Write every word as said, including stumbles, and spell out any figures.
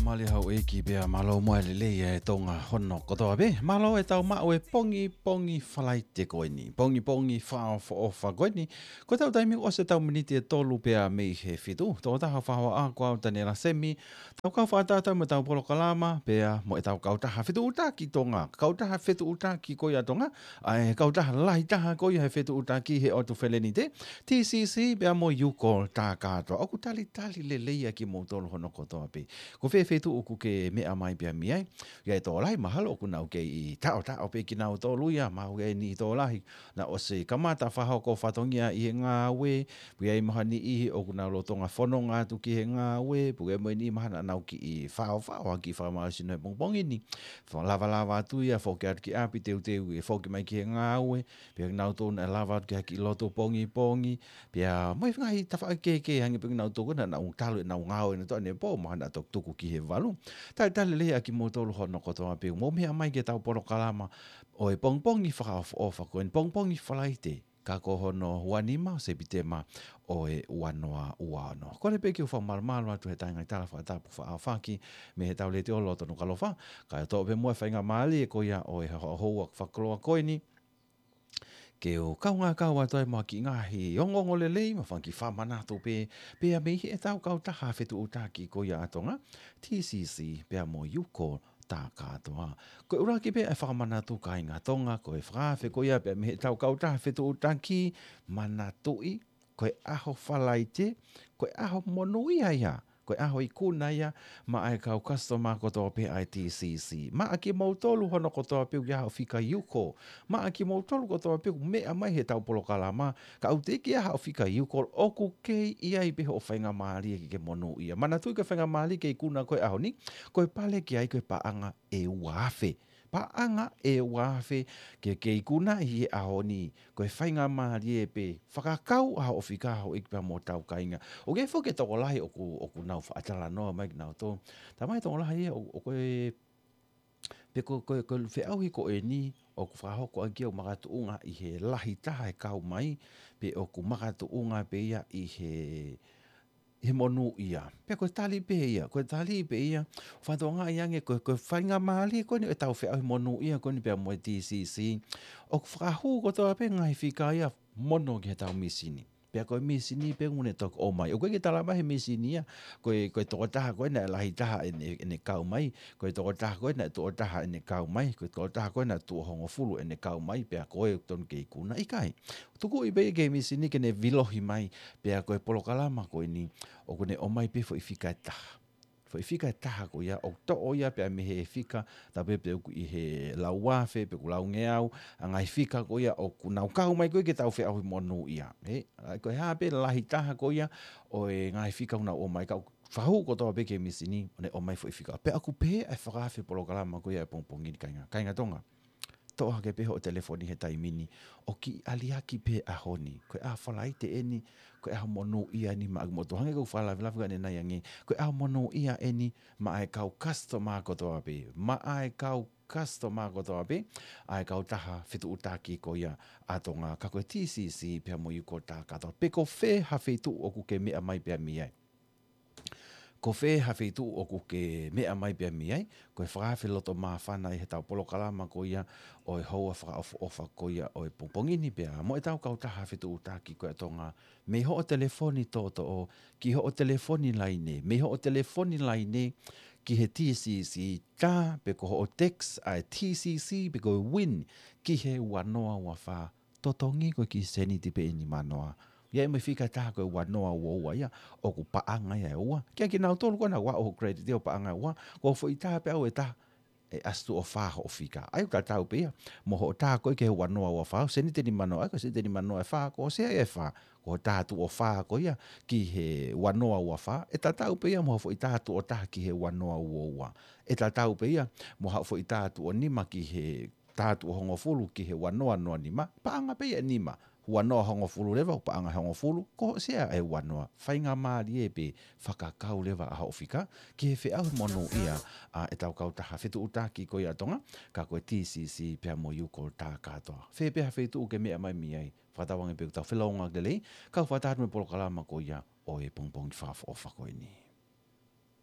Mālō e houʻeiki pea mālō mo e lelei ʻa e Tonga hono kotoa pē. Mālō e tau maʻu e pongipongi Falaite ko eni. Pongipongi fakaʻofoʻofa ko eni. Ko ʻetau taimi ʻosi ʻetau miniti ʻe tolu pea mei he fitu. Tokotaha fakahoa ko au Taniela Semi. Tau kau fakatātā mo ʻetau polokalama, pea mo ʻetau kautaha fetuʻutaki Tonga. Kautaha fetuʻutaki ko ia Tonga. ʻA e kautaha lahi taha ko ia he fetuʻutaki he ʻOtu Felenite. T C C, pea mo Yukol Takatoa. ʻOku talitali lelei ʻa kimoutolu hono kotoa pē. Ko fē feituʻu ʻoku ke meʻa mai pea mei ai. ʻI ai e tokolahi mahalo ʻoku nau kei taʻotaʻo pē kinautolu ia, mahalo ʻi ai e niʻihi tokolahi naʻa nau ʻosi kamata fakahoko fatongia ʻi he ngāue, pea ʻi ai mahalo e niʻihi ʻoku nau lolotonga fononga atu ki he ngāue, pea ʻi ai mo e niʻihi mahalo naʻa nau kiʻi faofao, ha kiʻi fakamālohisino he pongipongi ni. Fa-, lavalava atu ia, foki atu ki ʻapi teuteu ʻe foki mai ki he ngāue, pea kinautolu naʻe lava atu ki ha kiʻi lotu pongipongi, pea mo e ngaahi tafaʻaki kehekehe hangē pē kinautolu naʻa nau talu ʻenau ngāue naʻa nau toʻo ʻenau pō, mahalo naʻa nau toki tuku ki he valu. Talitali lelei ʻa kimoutolu hono kotoa pē, mou meʻa mai ki heʻetau polokalama ʻo e pongipongi fakaʻofoʻofa ko eni, pongipongi Falaite, ka ko hono ua nima ʻo Sepitema ʻo e ua noa ua ono. Kole pē ke u fakamalumalu atu he tainga ʻi tala fakatapu fakaʻaufaki mei heʻetau letiō loto Nukuʻalofa, kae toʻo pē muʻa e faingamālie ko ia ʻo e houa fakakoloa ko eni, ke u kaungā kau atu ai mo e kiʻi ngaahi ongoongo lelei, mo e fanga kiʻi fakamanatu pē, pea mei heʻetau kautaha fetuʻutaki ko ia ʻa Tonga, T C C, pea mo Yukol Takatoa. Ko e ʻuluaki pē ʻa e fakamanatu kāinga Tonga, ko e fakaafe ko ia pea mei heʻetau kautaha fetuʻutaki, manatuʻi, ko e ʻaho Falaite, ko e ʻaho monūʻia ia, ko e ʻaho ikuna ia, maʻa e kau customer kotoa pē ʻa e T C C. Maʻa kimoutolu hono kotoa pē ʻoku ʻi ai haʻo fika Yukol. Maʻa kimoutolu kotoa pē ʻoku meʻa mai heʻetau polokalama, ka ʻoku teʻeki ai haʻo fika Yukol, ʻoku kei ʻi ai pē hoʻo faingamālie ke ke monūʻia. Manatuʻi ko e faingamālie ke ikuna ko e ʻaho ni, ko e pale ki ai ko e paʻanga ʻe ua afe. Paʻanga ʻe ua afe ke ke ikuna ʻi he ʻaho ni, ko e faingamālie pē fakakau ʻa hoʻo fika, houʻeiki pea mo hotau kāinga. ʻOku ʻi ai foki e tokolahi ʻoku, ʻoku nau faʻa talanoa mai kinautolu. Talamai tokolahi ia ʻo, ʻoku ʻi ai, pe ko, ko, ko e feʻauhi ko eni, ʻoku fakahoko ʻaki ia ʻoku makatuʻunga ʻi he lahi taha e kau mai, pe ʻoku makatuʻunga pē ia ʻi he, he monūʻia. Pea ko e tali pē ia, ko e tali pē ia, fakatokangaʻi ange ko, ko e faingamālie ko eni ʻetau feʻauhi monūʻia ko eni pea mo e T C C. ʻOku fakahū kotoa pē ngaahi fika ia mono ki heʻetau mīsini. Pea ko e mīsini pē ʻoku ne toki ʻomai. ʻOku ʻikai ke talamai he mīsini ia, ko e, ko e tokotaha ko ē naʻe lahi taha ʻene, ʻene kau mai, ko e tokotaha ko ē naʻe tuʻo taha ʻene kau mai, ko e tokotaha ko ē naʻe tuʻo hongofulu ʻene kau mai, pea ko e tonu ke ikuna, ʻikai. Tukuʻi pē ki he mīsini ke ne vilohi mai, pea ko e polokalama ko eni, ʻoku ne ʻomai pē foʻi fika ʻe taha. Foʻi fika ʻe taha ko ia, ʻoku toʻo ia pea mei he fika, tā pē pe ʻoku ʻi he lau afe, pe ʻoku laungeau, ʻa e ngaahi fika ko ia ʻoku nau kau mai ko ē ke tau feʻauhi monūʻia. He, ʻa, ko e hā pē lahi taha ko ia ʻo e ngaahi fika ʻoku nau ʻomai, ka ʻoku fakahū kotoa pē ki he mīsini, ʻo ne ʻomai foʻi fika. Pea ʻoku pehē ʻa e fakaafe polokalama ko ia ʻo e pongipongi ni kāinga, kāinga Tonga. Toʻo hake pē hoʻo telefoni he taimi ni, ʻo kiʻi aliaki pē ʻaho ni. Ko e ʻaho Falaite eni, ko e ʻaho monūʻia eni maʻa kimoutolu, hangē ko e fakalavelave ko ē ʻanenai ange, ko e ʻaho monūʻia eni maʻa e kau customer kotoa pē, maʻa e kau customer kotoa pē ʻa e kautaha fetuʻutaki ko ia ʻa Tonga, ka ko e T C C pea mo Yukol Takatoa. Pe ko fē ha feituʻu ʻoku ke meʻa mai pea mei ai. Ko fē ha feituʻu ʻoku ke meʻa mai pea mei ai, ko e fakaafe loto māfana ʻi heʻetau polokalama ko ia ʻo e houa fakaʻofoʻofa ko ia ʻo e pongipongi ni pea mo ʻetau kautaha fetuʻutaki ko ia ʻa Tonga, mei hoʻo telefoni toʻotoʻo ki hoʻo telefoni laine, mei hoʻo telefoni laine ki he T C C, tā pe ko hoʻo text ʻa e T C C pe ko e win ki he ua noa ua fā, totongi ko e kiʻi sēniti pē ʻe nima noa. ʻI ai mo e fika ʻe taha ko e ua noa ua ua ia, ʻoku paʻanga ia ʻe ua. Kiate kinautolu ko ē naʻa nau ʻoho credit ʻo paʻanga ʻe ua, ko e foʻi tā pē ʻe taha, ʻe ʻasi tuʻo fā hoʻo fika. ʻA ia ʻoku tatau pē ia mo hoʻo tā ko ē ki he ua noa ua fā, sēniti ʻe nima noa, ʻa ia ko e sēniti ʻe nima noa ʻe fā, ko e sea ia ʻe fā, ko hoʻo tā tuʻo fā ko ia ki he ua noa ua fā, ʻe tatau pē ia mo hoʻo foʻi tā tuʻo taha ki he ua noa ua ua. ʻE tatau pē ia mo hoʻo foʻi tā tuʻo nima ki he tā tuʻo hongofulu ki he ua noa noa nima, paʻanga pē ia ʻe nima. Ua noa hongofulu leva, paʻanga ʻe hongofulu, ko hoʻo sea ʻe ua noa. Faingamālie pē fakakau leva ʻa hoʻo fika ki he feʻauhi monūʻia ʻa ʻetau kautaha fetuʻutaki ko ia ʻa Tonga, ka ko e T C C pea mo Yukol Takatoa. Fē pē ha feituʻu ʻoku ke meʻa mai mei ai, fakatauange pē ʻoku tau felōngoaki lelei, kau fakataha atu mo e polokalama ko ia ʻo e pongipongi fakaʻofoʻofa ko eni.